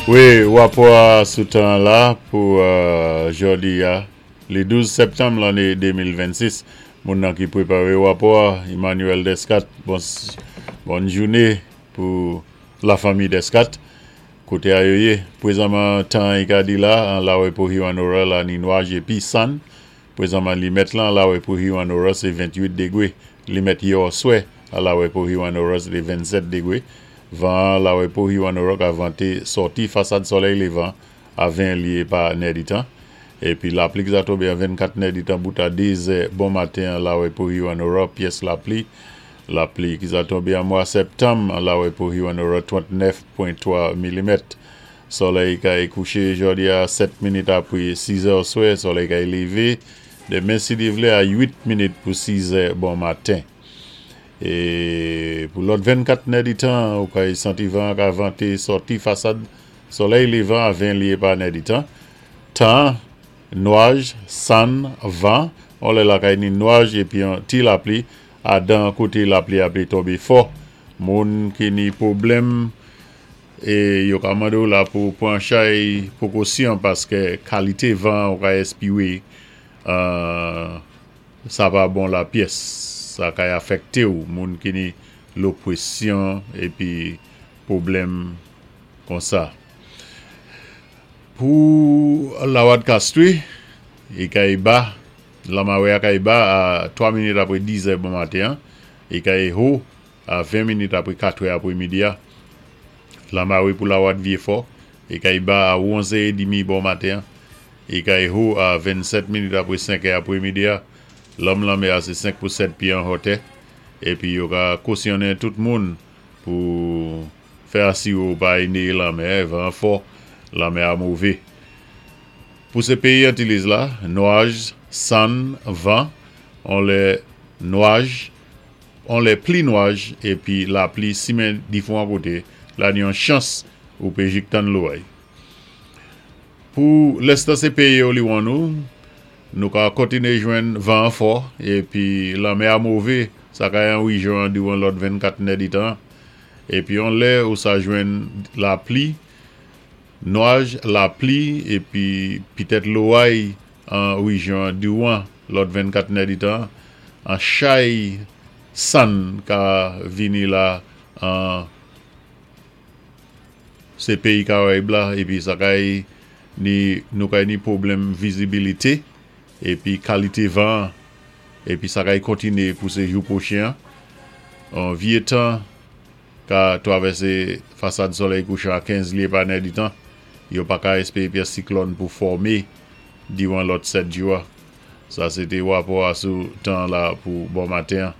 Wi, wapò a sou tan la pou jòdi a, le 12 septanm lanné 2026. Moun nan ki pweparé wapò a, Emmanuel Descat. Bòn jouné pou lafanmi Descat, koté a yo yé. Pwézanman tan an i ka di la, an Lawè pou Hewanorra la ni nwaj épi sann. Pwézanman limèt lan Lawè pou Hewanorra sé 28 degwé. Limèt yè òswè a Lawè pou Hewanorra sé té 27 degwé. Van an Lawè pou Hewanorra ka vanté sòti fasad solèy lévan a 20 lyé pa nèditan. Épi lapli ki sa tonbé an 24 nèditan bout a 2 zè bon maten an Lawè pou Hewanorra pyès lapli. Lapli ki sa tonbé an mwa sèptanm an Lawè pou Hewanorra 39.3 milimèt. Solèy kay kouché jòdi a 7 minit apwé 6 zè òswè, solèy kay lévé demen si Dye vlé a 8 minit pou 6 zè bon maten. E pou lòt 24 nèditan, ou kay santi van an ka vante sòti fasad solèy levan a 20 lye pa nèditan. Tan, nwaj, sann, van, on lè lakay ni nwaj epi yon ti lapli a dan kote lapli ape tonbe fò. Moun ki ni pwoblèm e yo ka mande w la pou pran chay pwokosyon paske kalite van ou ka espire an Sa pa bon la pyès. Sa kay afèkte w moun ki ni lo pwesyon épi pwoblèm konsa. Pou Lawad Castry, i kay ba, lanmawè a kay ba a 3 minit apwé 10 zè bon maten an, i kay ho a 20 minit apwé 4 è apwé midi a. Lanmawé pou Lawad Vyefò, i kay ba a 11 è edimi bon maten an, i kay ho a 27 minit apwé 5 è apwé midi a. Lanm lanmè a sé 5 pou 7 pyé an hotè, épi yo ka kosyonnen tout moun pou fè asiré w pa neyé lanmè, van an fò, lanmè a mové. Pou sé péyi Antiliz la, nwaj, sann, van, on lè nwaj, on lè pli nwaj épi lapli simen difwan koté, la ni yon chans ou pé jik tann loway. Pou lèstan sé péyi Oliwon ou, nou ka kontiné jwenn van an fò épi lanmè a mové, sa kay an wijyon an diwan lòt 24 nèditan, épi on lè ou sa jwenn lapli, nwaj, lapli épi pitèt loway an wijyon an diwan lòt 24 nèditan, an chay sann ka vini la an. Se peyi Karayib la epi sa kay ni nou kay ni pwoblèm vizibilite epi kalite van an epi sa kay kontine pou se jou pwochen an. On vye tan ka twavèse fasad solèy kouchan a 15 lye pa nèditan. Yo pa ka espere pyès siklòn pou fòme diwan lòt 7 jou a. Sa se te wapò a sou tan la pou bon maten an.